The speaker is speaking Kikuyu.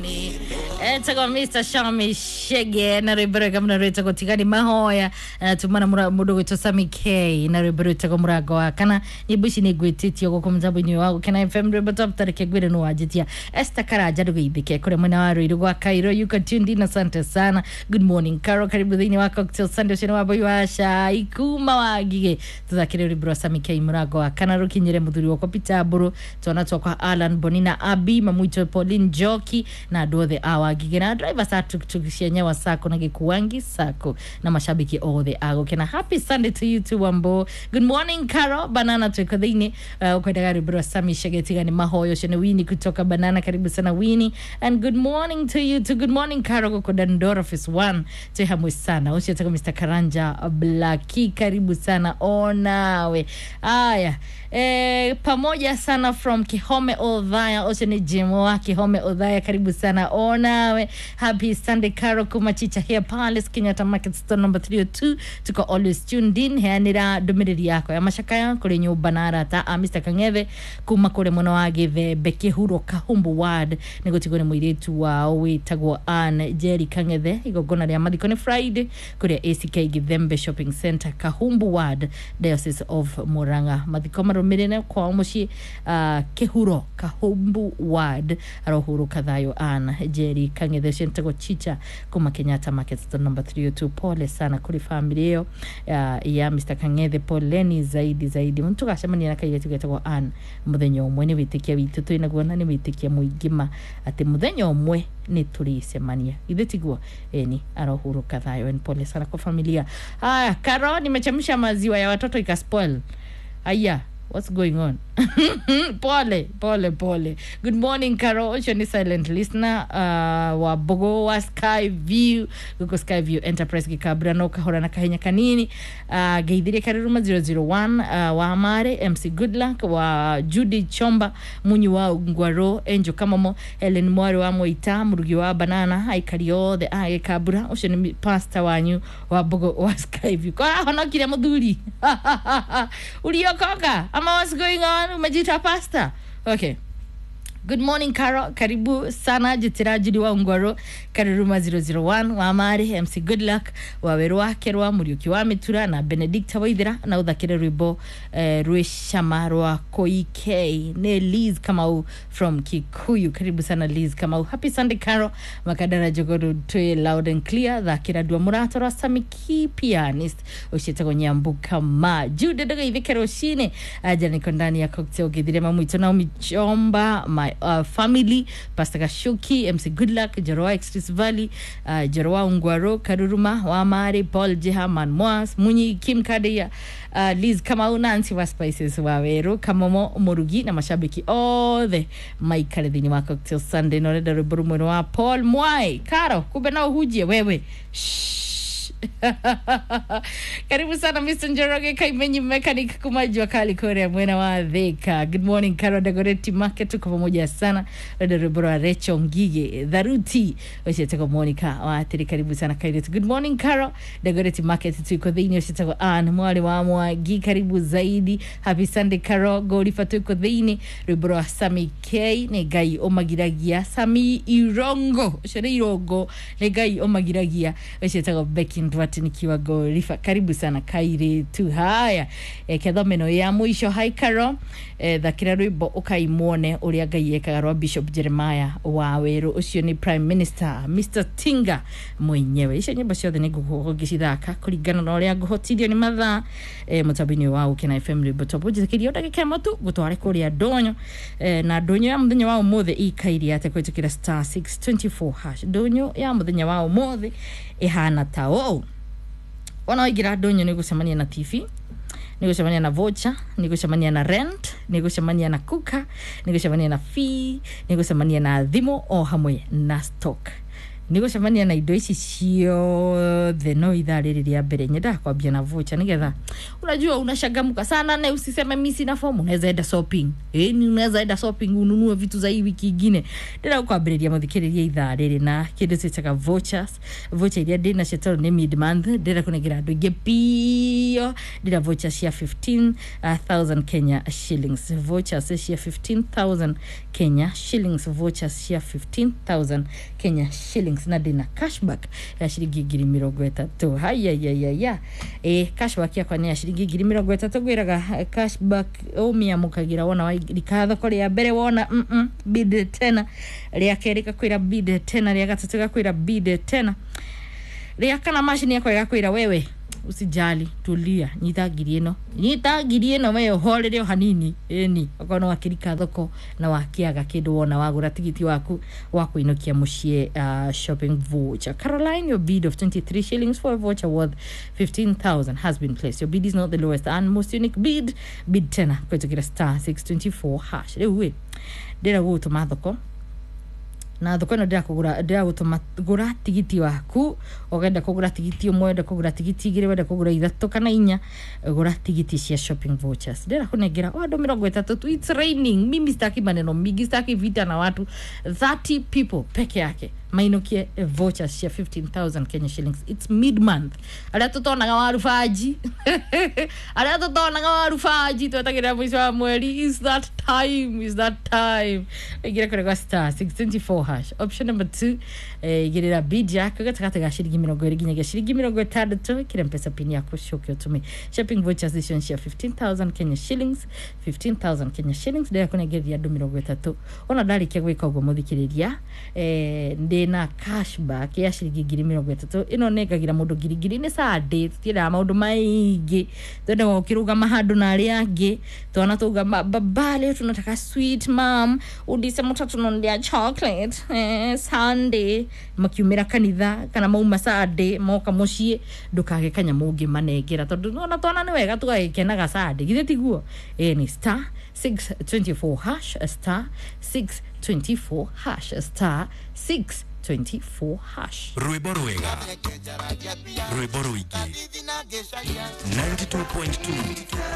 Ni etagwo Mr Shami Shege na rwimbo rwega muno rwitagwo Tigani Mahoya, na tumana mundu gwitwo Sami K na rwimbo rwitagwo Murango wa Kana. Nyimbo ici nĩ ngwĩtĩtio gũkũ mũtambo-inĩ wa Gũkena FM, rwimbo top tareke ngwĩre nĩ wanjĩtia. Esther Karanja, ndũgeithĩke kũrĩa mwena wa Ruiru gwa Cairo, you can tuned in, asante sana. Good morning Carol, karibu thĩinĩ wa Cocktail Sunday. Ũcio nĩ wambui wa cai kuma wa Ngigĩ. Tũthakĩre rwimbo rwa Sami K Murango wa Kana rũkinyĩre mũthuri wakwa Peter Mbũrũ, twana twakwa Alan Bonina, Abi mamwitũ Pauline Njoki na andũ othe a Wangigĩ na drivers a tuktuk cia Nyawa Sacco na Gĩkuangi Sacco na mashabiki othe a Gũkena. Happy Sunday to you too Wambo. Good morning Carol Banana, tuko thĩinĩ ukwendaga rwimbo rwa Sami Shege Tigani Mahoyo. Ũcio nĩ Winnie kutoka Banana, karibu sana Winnie, and good morning to you too. Good morning Carol gũkũ Dandora Office 1, twĩ hamwe sana. Ũcio etagwo Mr Karanja Blaki, karibu sana onawe. Aya, pamoja sana from Kihome Odhaya, ũcio nĩ Jim wa Kihome Odhaya, karibu sana onawe. Happy Sunday Carol kuma Chicha here Palace, Kenyatta Market store number 302, tuko always tuned in. Heanĩra ndũmĩrĩri yakwa ya macakaya kũrĩ nyũmba na arata a Mr Kang'ethe kuma kũrĩ mwena wa Gĩthembe Kĩhuro Kahumbu ward, nĩ gũtigwo nĩ mũirĩtu wao wĩtagwo Ann Jerry Kang'ethe. Igongona rĩa mathiko nĩ Friday kũrĩa ACK Gĩthembe Shopping Center, Kahumbu ward, Diocese of Murang'a. Mathiko marũmĩrĩre kwao mũciĩ, Kĩhuro Kahumbu ward, arohurũka thayũ Ann Jerry Kang'ethe. Ũcio nĩtagwo Chicha kuma Kenyatta Market store number 302. Pole sana kũrĩ family ĩyo ya Mr Kang'ethe, poleni zaidi zaidi. Tũgacemania na kairĩtu getagwo Ann mũthenya ũmwe, nĩ wĩtĩkia witũ twĩnaguo na nĩ wĩtĩkia mũingĩ ma atĩ mũthenya ũmwe nĩ tũrĩcemania, ithe tiguo? Eni, arohurũka thayũ and pole sana kwa familia. Haya Karo, nimechemsha maziwa ya watoto ikaspoil. Aya, what's going on? Pole pole pole. Good morning Caro, ũcio nĩ silent listener wa Bogo wa Sky View gũkũ Sky View Enterprise Gĩkambura, no kahora na kahenya kanini. Ngeithirie Karuruma 001, wa Mare MC Goodluck wa Judy Chomba Munyi wa Ngwaro, Angel Kamomo, Helen Mwari wa Moita, Murugi wa Banana, aikari othe a Gĩkambura. Ũcio nĩ pastor wanyu wa Bogo wa Sky View. Kwa honokire mũthuri uliokoka ama what's going on? Umejiita pastor? Okay. Good morning Caro, karibu sana. Jitira Judy wa Ungwaro, Karuruma 001 wa Mari MC Goodluck wa Weru wa Kerwa, Muriuki wa Mitura na Benedicta Waithira, na uthakire rwimbo rwĩ rwa Koike nĩ Liz Kamau from Kikuyu. Karibu sana Liz Kamau. Happy Sunday Caro, Makadara Jogoru twĩ loud and clear. Thakira ndua mũrato rwa Sami Pianist ũciĩtagwo Nyambuka ma Jude ndũgeithĩke rũcinĩ. Aja niko ndani ya cocktail githire mamwitũ Naomi Chomba, my family, Pastor Gashuki, MC Goodluck, Joroa Express Valley, Joroa Ungwaro, Karuruma wa Mari, Paul Jeha, Manmoas, Munyi, Kim Kadeya, Liz Kamau, Nancy wa Spices wa Weru, Kamomo Murugi na mashabiki othe maikare thĩinĩ wa Cocktail Sunday. Na ũrenda rwĩmbo rũmwe rwa Paul Mwai. Karo, kumbe no ũhunjie wewe. Shh. Karibu sana Mr. Njoroge Kaimenyi mechanic kuma jua kali korea mwena wa Thika. Good morning Karo Dagoretti Market, tuko pamoja sana. Rada rwimbo rwa Rachel Ngige Dharuti ucietagwo Monica wa Atiri, karibu sana Kairetu. Good morning Karo Dagoretti Market, tuko thĩinĩ. Ucietagwo Ann Mwari wa Mwangi, karibu zaidi. Happy Sunday Karo Gorifa, tuko thĩinĩ. Rwimbo rwa Sami K nĩ Ngai ũmagiragia. Sami Irongo, ũcio nĩ Irongo, nĩ Ngai ũmagiragia. Ucietagwo Becky Ndwati nikiwa Gorifa, karibu sana Kairetu. Haya, kethomeno ya mũico. Hi Karo, thakĩra rwĩmbo ũkaimuone ũrĩa Ngai ekaga rwa Bishop Jeremiah wa Weru, ũcio nĩ Prime Minister Mr Tinga mwenyewe. Icio nyĩmbo ciothe nĩ ngũgũkorwo ngĩcithaka kũringana na ũrĩa ngũhotithio nĩ mathaa, mũtambo-inĩ wa Gũkena FM rwĩmbo top. Njĩtĩkĩria ndagĩka ĩmwe tu ngũtware kũrĩa ndũnyũ, na ndũnyũ ya mũthenya wa ũmũthĩ ikaire atĩa kũhĩtũkĩra star 624 hash. Ndũnyũ ya mũthenya wa ũmũthĩ ĩhana ta ũũ: wona waingĩra ndũnyũ nĩ gũcemania na TV, nĩ gũcemania na voucher, nĩ gũcemania na rent, nĩ gũcemania na kuka, nĩ gũcemania na fee, nĩ gũcemania na thimũ o hamwe na stock. Nĩ gũcemania na indo ici ciothe no ithaa rĩrĩ rĩa mbere nyendaga kwambia na vocha nĩgetha unajua unashangamuka sana na usiseme mi sina fomu. Unaweza enda shopping, ni unaweza enda shopping ununue vitu za hii wiki ingine. Ndĩrenda gũkwambĩrĩria mũthikĩrĩria ithaa rĩrĩ na kĩndũ twĩtaga vouchers. Voucher iria ndĩ nacio tondũ nĩ mid month, ndĩrenda kũnengera andũ aingĩ biũ. Ndĩna voucher cia 15,000 Kenya shillings, vouchers cia 15,000 Kenya shillings, vouchers cia 15,000 Kenya shillings, na ndĩna cashback ya ciringi 30,000. Hayayayaya, cashback yakwa nĩ ya ciringi 30,000. Ngwĩraga cashback ũmĩamũkagĩra wona wairika thoko rĩa mbere, wona bid tena, rĩa kerĩ gakwĩra bid tena, rĩa gatatũ gakwĩra bid tena, rĩa kana macini yakwa ĩgakwĩra wewe usijali, tulia, nyita ngiri ĩno, nyita ngiri ĩno, we ũhorere o hanini. Ĩni okorwo nĩ wakĩrika thoko na wakĩaga kĩndũ, wona wagũra tigiti waku wa kũinũkia mũciĩ, shopping voucher. Caroline, your bid of 23 shillings for a voucher worth 15,000 has been placed. Your bid is not the lowest and most unique bid. Bid tena kũhetũkĩra star 624 hash. Rĩu ĩ ndĩra gũgũtũma thoko na thoko ĩno ndĩrakũgũra, ndĩragũtũma gũra tigiti waku. Ũgenda kũgũra tigiti ũmwe, wenda kũgũra tigiti igĩrĩ, wenda kũgũra ithatũ kana inya, gũra tigiti cia shopping vouchers. Ndĩrakũnengera o andũ 30 tu. It's raining, mimi sitaki maneno mingi, sitaki vita na watu. 30 people peke yake mainũkie vouchers cia 15,000 Kenya shillings. It's mid month. Arĩa tũtonaga warubanji, arĩa tũtonaga warubanji, twetagĩrĩra mũico wa mweri. Is that time, is that time. Ingĩra kũrĩ gwa star 624 hash, option number 2, igĩrĩra bid yaku gatagatĩ ga ciringi 20 nginyagia ciringi 60. Ĩkĩra mpesa pin yaku, coke ũtũme shopping vouchers icio cia 15,000 Kenya shillings, 15,000 Kenya shillings. Ndĩrakũnengereria andũ 30. Ona ndarĩkia gwĩka ũguo mũthikĩrĩria, ndĩna cashback ya ciringi 30,000. Ĩno nengagĩra mũndũ ngiri ngiri. Nĩ Sunday, tũtiendaga maũndũ maingĩ, twendaga ũkĩrũgama handũ na arĩa angĩ. Twana tuga baba, leo tunataka sweet, mam udise mutatununulia chocolate, Sunday makiumĩra kanitha kana mauma Sunday moka mũciĩ, ndũkage kanyamũ ũngĩmanengera tondũ ona twana nĩ wega tũgagĩkenaga Sunday, githĩ tiguo? Ni star 624 hash, star 624 hash, star 624 hash. Rwĩmbo rwega, rwĩmbo rũingĩ, 92.2.